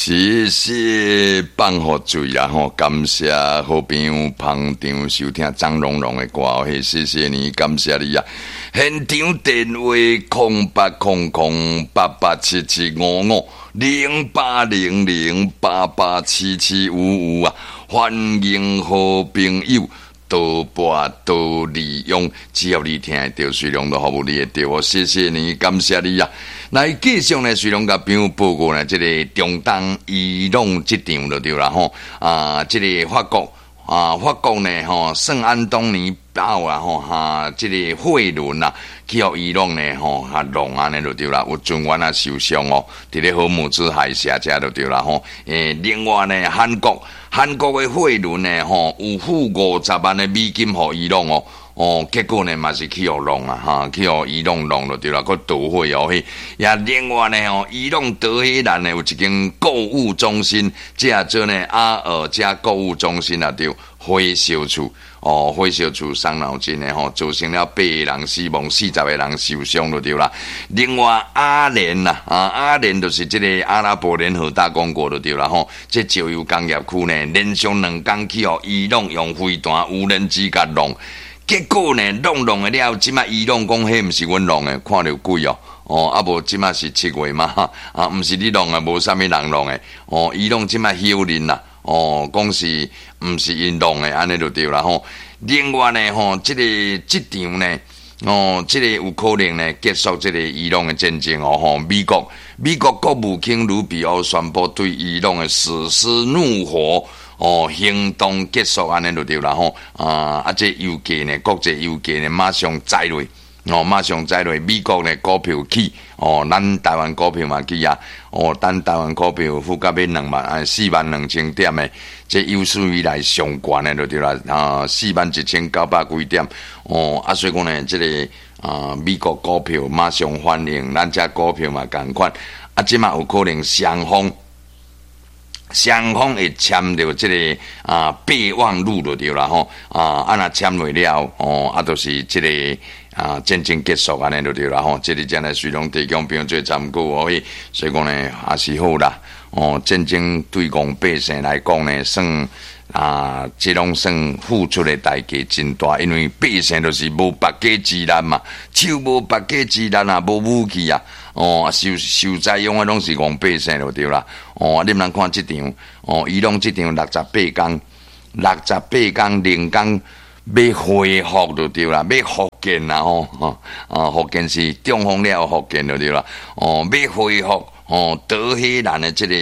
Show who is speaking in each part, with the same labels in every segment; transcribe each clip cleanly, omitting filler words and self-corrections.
Speaker 1: 謝謝放予水啦吼，感謝好朋友捧場收聽張榮榮的歌嘿，謝謝你，感謝你啊！現場電話08008877550800887755啊，歡迎好朋友多撥多利用，只要你聽會著，水龍都服務你會著哦，謝謝你，感謝你啊！來繼續呢，水龍共朋友報告呢，這个中東伊朗這場就對啦吼，啊，這个法國啊，法國呢吼，聖安東尼島啊吼，哈，這个貨輪啊，去予伊朗呢吼，哈弄按呢就對啦，有船員啊受傷哦，佇咧荷姆茲海峽遮就對啦吼。另外呢，韓國的貨輪呢吼，有付50萬的美金予伊朗哦。哦，結果呢嘛是去予弄啊，哈，去予伊朗弄就對啦，閣導火哦彼。也另外呢吼，伊朗德黑蘭呢有一間購物中心，這做呢阿爾加購物中心啊，對，火燒厝哦，火燒厝傷腦筋的吼，造成了八個人死亡，40個人受傷就對啦。另外阿聯啦，啊，阿聯就是這個阿拉伯聯合大公國就對啦吼。這石油工業區呢，連續2工去予伊朗用飛彈、無人機共弄。結果呢，弄弄的了，這馬伊朗講彼毋是阮弄的，看著鬼哦，哦，啊無這馬是7月嘛，啊，毋是你弄的，無啥物人弄的，哦，伊朗這馬否認啦，哦，講是毋是𪜶弄的，按呢就對啦吼。另外呢，吼，這个這場呢，哦，這个有可能呢結束這个伊朗的戰爭哦，吼，美國國務卿盧比歐宣布對伊朗的史詩怒火哦，行動結束按呢就對啦吼，啊，這油價呢，國際油價呢，馬上載落，哦，馬上載落，美國呢股票起，哦，咱台灣股票嘛起啊，哦，咱台灣股票復甲欲2萬啊，42,000點的，這有史以來上懸的就對啦，啊，41,900幾點，哦，啊，所以講呢，這個啊，美國股票馬上反應，咱這股票嘛仝款，啊，這馬有可能雙方。雙方會簽著這个啊備忘錄就對啦吼啊，啊若簽落了吼，啊，就是這个啊戰爭結束按呢就對啦吼，這个才來隨攏提供朋友做參考哦。所以講呢，也是好啦。哦，戰爭對戇百姓來講呢，算啊，這攏算付出的代價真大，因為百姓就是無縛雞之力嘛，手無縛雞之力啊，無武器啊。哦，受受災用的攏是戇百姓就對啦。哦，你毋通看這場，哦，伊朗這場68工，68工零工欲恢復就對啦，欲復健啦吼，啊，復健是中風了後復健就對啦。哦，欲恢復哦，德黑蘭的這个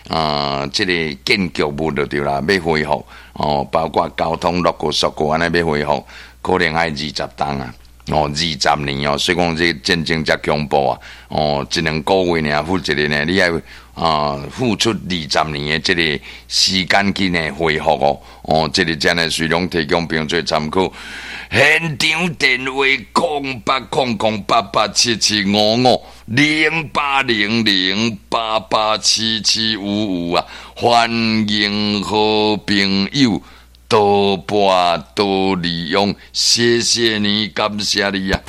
Speaker 1: 啊，這个建築物就對啦，欲恢復哦，包括交通落個速度按呢欲恢復，可能愛20冬啊。哦，20年哦，所以講這戰爭遮恐怖啊！哦，一兩個月爾付一個呢，你愛啊付出20年的這個時間去呢恢復哦。哦，這个真的隨攏提供朋友做參考。現場電話08008877550800887755啊，歡迎好朋友多撥多利用，謝謝你，感謝你啊！